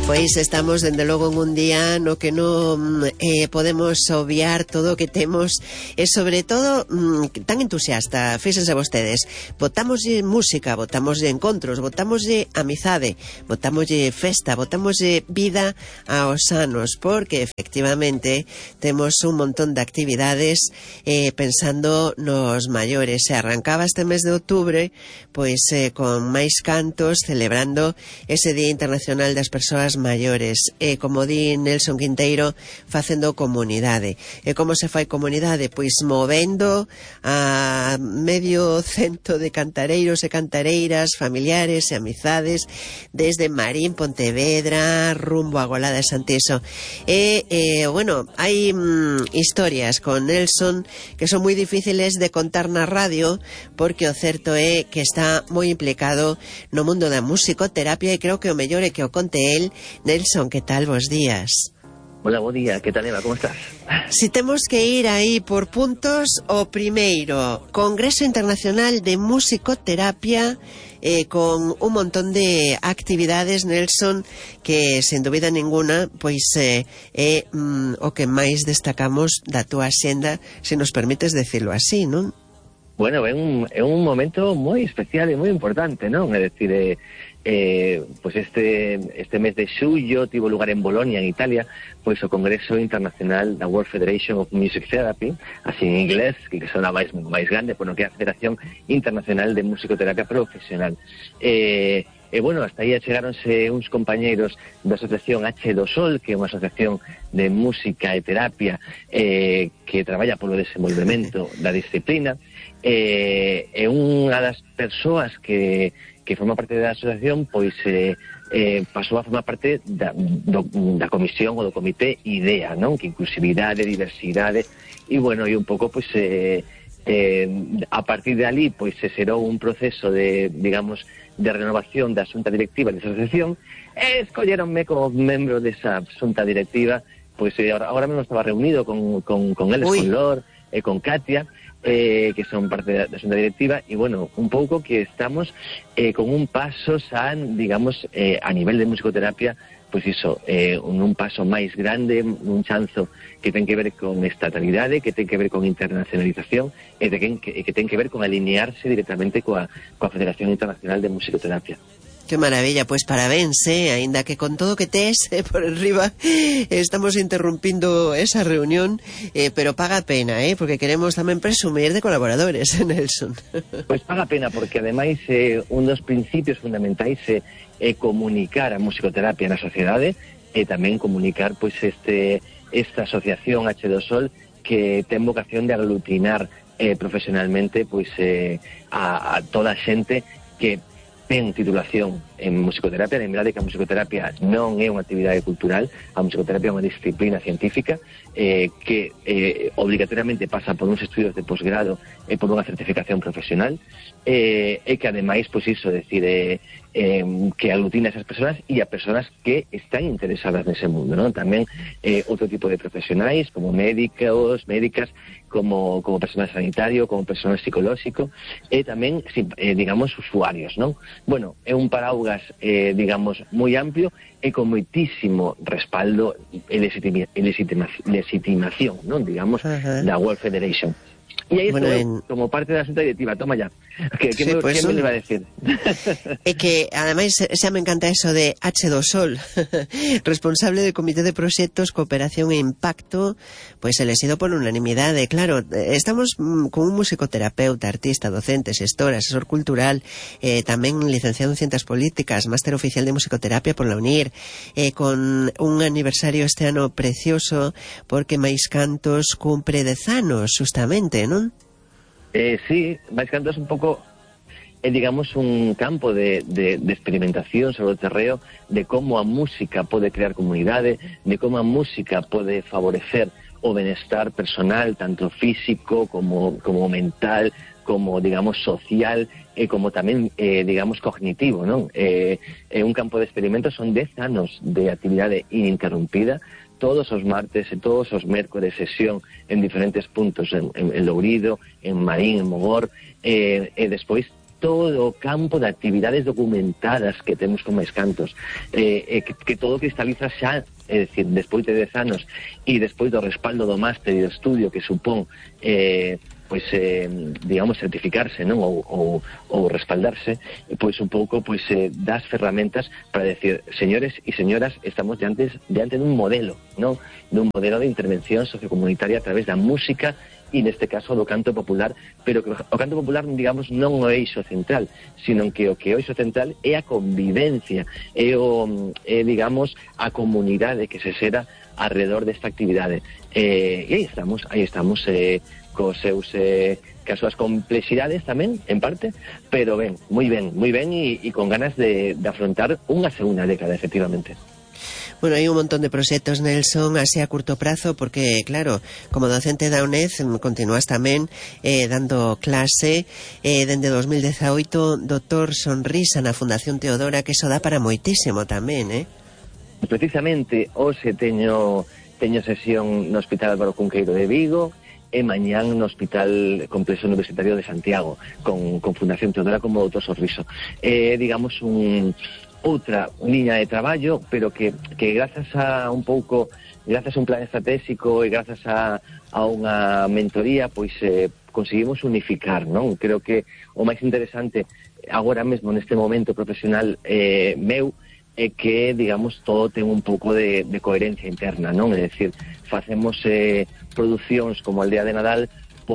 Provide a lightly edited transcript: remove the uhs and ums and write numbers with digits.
Pois estamos, dende logo, en un día no que non podemos obviar todo o que temos e, sobre todo, tan entusiasta. Fíxense vostedes, botámoslle música, botámoslle encontros, botámoslle amizade, botámoslle festa, botámoslle vida aos anos, porque, efectivamente, temos un montón de actividades pensando nos maiores. Se arrancaba este mes de outubro, pois con máis cantos, celebrando ese Día Internacional das Persoas maiores, como di Nelson Quinteiro, facendo comunidade. E como se fai comunidade? Pois movendo a medio cento de cantareiros e cantareiras, familiares e amizades, desde Marín, Pontevedra, rumbo a Golada de Santiso. Bueno, hai historias con Nelson que son moi difíciles de contar na radio, porque o certo é que está moi implicado no mundo da musicoterapia, e creo que o mellor é que o conte el. Nelson, que tal? Bos días. Hola, buen día. ¿Qué tal, Eva? ¿Cómo estás? Si temos que ir aí por puntos, o primeiro, Congreso Internacional de Musicoterapia, con un montón de actividades, Nelson, que, sen dúbida ninguna, pois é o que máis destacamos da túa axenda, se nos permites decirlo así, non? Bueno, é un momento moi especial e moi importante, non? É dicir, pois este mes de xullo tivo lugar en Bolonia, en Italia, pois o Congreso Internacional da World Federation of Music Therapy, así en inglés, que sona máis grande, bueno, que é a Federación Internacional de Musicoterapia Profesional. Bueno, hasta aí chegáronse uns compañeiros da asociación H2Sol, que é unha asociación de música e terapia que traballa polo desenvolvemento da disciplina, e unha das persoas que forma parte da asociación, pois pasou a formar parte da comisión ou do comité IDEA, non? Que inclusividade, diversidade, e bueno, e un pouco, pois, a partir de ali, pois, se xerou un proceso de, digamos, de renovación da xunta directiva desa asociación, e escolleronme como membro desa xunta directiva. Pois agora mesmo estaba reunido con eles, con Lor e con Katia, que son parte da xunta directiva, e bueno, un pouco que estamos con un paso digamos, a nivel de musicoterapia, pois iso, un paso máis grande, un chanzo que ten que ver con estatalidade, que ten que ver con internacionalización, e que ten que ver con alinearse directamente coa Federación Internacional de Musicoterapia. Que maravilla, pois parabéns, aínda que con todo que tes por arriba estamos interrumpindo esa reunión, pero paga pena, porque queremos tamén presumir de colaboradores, Nelson. Pois paga pena, porque ademais un dos principios fundamentais é comunicar a musicoterapia na sociedade, e tamén comunicar pois esta asociación H2Sol, que ten vocación de aglutinar profesionalmente pois a toda a xente que ten titulación en musicoterapia. Lembrade que a musicoterapia non é unha actividade cultural, a musicoterapia é unha disciplina científica que obligatoriamente pasa por uns estudios de posgrado e por unha certificación profesional, e que ademais, pois iso, decir, que aglutina a esas persoas e a persoas que están interesadas nese mundo, non? Tamén outro tipo de profesionais, como médicos, médicas, como personal sanitario, como personal psicolóxico, e tamén, digamos, usuarios, non? Bueno, é un paraugas, digamos, moi amplio e con moitísimo respaldo e legitimación, non? Digamos, da World Federation. E aí bueno, como parte da xunta directiva, toma ya. Que sí, me iba a decir? É que, ademais, xa me encanta eso de H2Sol, responsable del Comité de Proxectos, Cooperación e Impacto, pois elexido por unanimidade. Claro, estamos con un musicoterapeuta, artista, docente, xestor, asesor cultural, tamén licenciado en Ciencias Políticas, máster oficial de musicoterapia por la UNIR, con un aniversario este ano precioso, porque máis cantos cumpre 10 anos, justamente, non? Sí, máis cantos un pouco, digamos, un campo de experimentación sobre o terreo de como a música pode crear comunidade, de como a música pode favorecer o benestar personal, tanto físico como mental, como, digamos, social, e como tamén, digamos, cognitivo, non? Un campo de experimentos, son 10 anos de actividade ininterrumpida, todos os martes e todos os mércores, sesión en diferentes puntos, en Lourido, en Marín, en Mogor, e despois todo o campo de actividades documentadas que temos con Máis Cantos, que todo cristaliza xa, é dicir, despois de 10 anos e despois do respaldo do máster e do estudio que supón digamos, certificarse, non? Ou respaldarse, pois un pouco das ferramentas para decir, señores e señoras, estamos diante dun modelo, non? Dun modelo de intervención sociocomunitaria a través da música e neste caso do canto popular, pero que o canto popular, digamos, non o eixo central, sino que o eixo central é a convivencia, digamos, a comunidade que se xera alrededor desta actividade. E aí estamos, cos seus cas súas complexidades tamén, en parte, pero moi ben, e con ganas de afrontar unha segunda década, efectivamente. Bueno, hai un montón de proxectos, Nelson, así a curto prazo, porque, claro, como docente da UNED, continúas tamén dando clase dende 2018, Doutor Sonrisa na Fundación Teodora, que eso dá para moitísimo tamén, Precisamente, hoxe teño sesión no Hospital Álvaro Cunqueiro de Vigo, e mañán no Hospital Complexo Universitario de Santiago, con Fundación Teodora como Doutor Sorriso. Digamos, outra liña de traballo, pero que grazas a un plan estratégico e grazas a unha mentoría, pois conseguimos unificar, non? Creo que o máis interesante agora mesmo neste momento profesional meu é que, digamos, todo ten un pouco de coherencia interna, non? É dicir, facemos producións como Aldea de Nadal